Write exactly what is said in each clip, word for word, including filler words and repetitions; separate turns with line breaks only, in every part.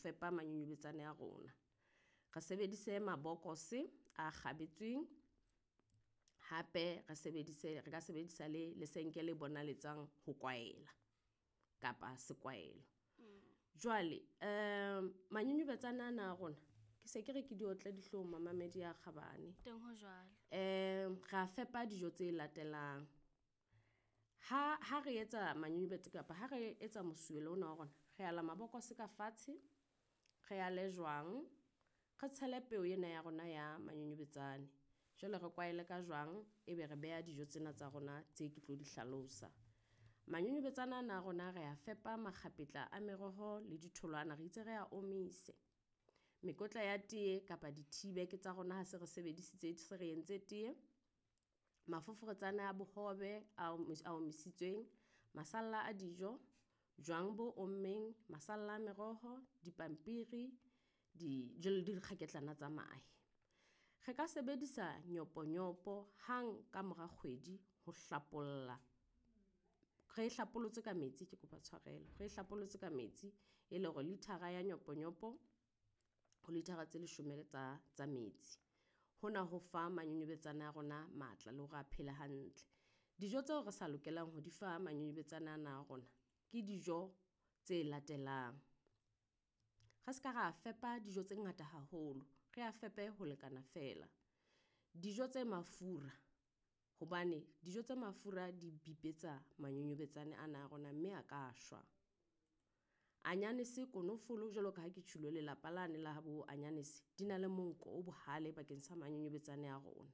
fepa manyonyobetsane a rona. Re sebedise mabokose a kgabetsweng, hape re sebedise re ka sebedisa le lesenke le bonaletsang ho kwaela kapa sekwaelo. Jwale um manyonyobetsane ana a rona ke se ke re ke diotle dihlong mamamedi a kgabane.
Teng ho jwalo.
Um ra fepa dijo tse latelang. Ha ha re etsa manyonyobetse kapa ha re etsa mosuwelo ona wa rona, re ala mabokose ka fatshe, re ale jwang, re tshele peo ena ya rona ya manyonyobetsane. Jwale re kwaele ka jwang, ebe re beha dijo tsena tsa rona tse ke tlo di hlalosa. Manyonyobetsane ana a rona re a fepa makgapetla a meroho le ditholwana, re itse re a omise. Mekotla ya teye kapa di-tea bag tsa rona ha se re sebedisitse se re entse teye. Mafoforetsane a bohobe a a omisitsweng, masalla a dijo, jwang bo ommeng, masalla a meroho, dipampiri, di jwale le dikgaketlana tsa mahe. Re ka sebedisa nyoponyopo hang ka mora kgwedi ho hlapolla. Re e hlapolotse ka metsi, ke kopa tshwarelo. Re e hlapolotse ka metsi e le hore liter-a ya nyoponyopo ho liter-a tse leshome tsa tsa metsi. Hona ho fa manyonyobetsane a rona matla le hore a phele hantle. Dijo tseo re sa lokelang ho di fa manyonyobetsane ana a rona ke dijo tse latelang. Re ska ra fepa dijo tse ngata haholo, re a fepe ho lekana fela. Dijo tse mafura, hobane dijo tse mafura di bipetsa manyonyobetsane ana a rona mme a ka shwa. Anyanese, konofolo jwalo ka ha ke tjhulo lelapa lane la habo anyanese di na le monko o bohale bakeng sa manyonyobetsane a rona.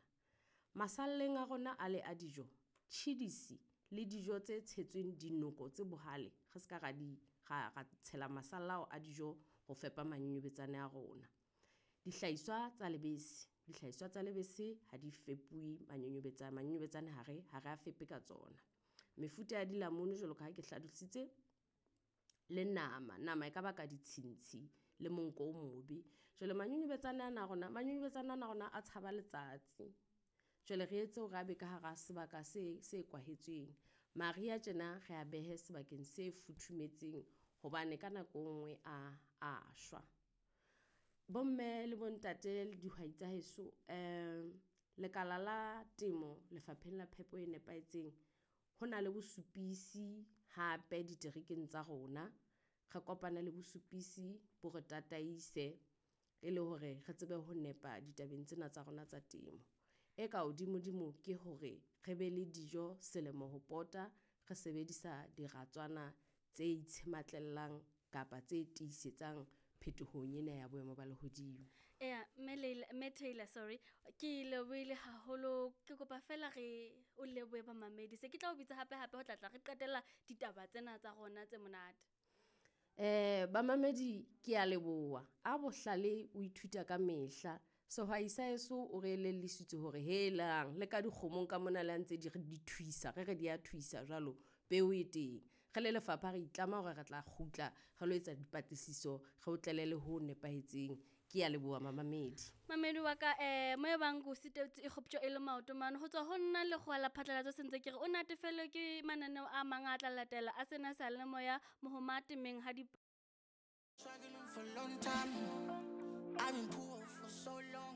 Masalleng a rona a le a dijo, tjhidisi le dijo tse tshetsweng dinoko tse bohale, re ska ra di ra ra tshela masalla ao a dijo ho fepa manyonyobetsane a rona. Dihlahiswa tsa lebese, dihlahiswa tsa lebese ha di fepuwe manyonyobetsane. Manyonyobetsane ha re ha re a fepe ka tsona. Mefuta ya dilamunu jwalo ka ha ke hlalositse, le nama. Nama e ka baka ditshintshi le monko o mobe. Jwale manyonyobetsane ana a rona, manyonyobetsane ana a rona a tshaba letsatsi. Jwale re etse hore a be ka hara sebaka se se kwahetsweng. Mariha tjena re a behe sebakeng se futhumetseng hobane ka nako e nngwe a a shwa. Bomme le bontate le dihwai tsa heso, lekala la temo Lefapheng la Phepo e Nepahetseng. Ho na le bosupisi hape diterekeng tsa rona. Re kopane le bosupisi bo re tataise e le hore re tsebe ho nepa ditabeng tsena tsa rona tsa temo. E ka hodimo-dimo ke hore re be le dijo selemo ho pota, re sebedisa diratswana tse itshematlelang kapa tse tiisetsang phetohong ena ya boemo ba lehodimo.
Eya, mme Leila, mme Tailor sorry. Ke lebohile haholo, ke kopa fela re o lebohe bamamedi. Se ke tla o bitsa hape hape ho tla tla re qetella ditaba tsena tsa rona tse monate.
Eh bamamedi ke a leboha. A bohlale o ithuta ka mehla. Sehwai sa heso o re elellisitse hore helang le ka dikgomong ka mona le ha ntse di re di thuisa, re re di a thuisa jwalo, peo e teng. Re le lefapha re itlama hore re tla kgutla re lo etsa dipatlisiso, re o tlele le ho nepahetseng. Ke a leboha mamamedi.
Mamedi wa ka eh mo e bang ko sitetswe e kgoptjwa e le maoto mane ho tswa ho nna lekgowa la phatlalatso se ntse ke re o natefelwe ke mananeo a mang a tla latela a sena seyalemoya mohoma temeng ha di
Struggling for a long time. I've been poor for so long.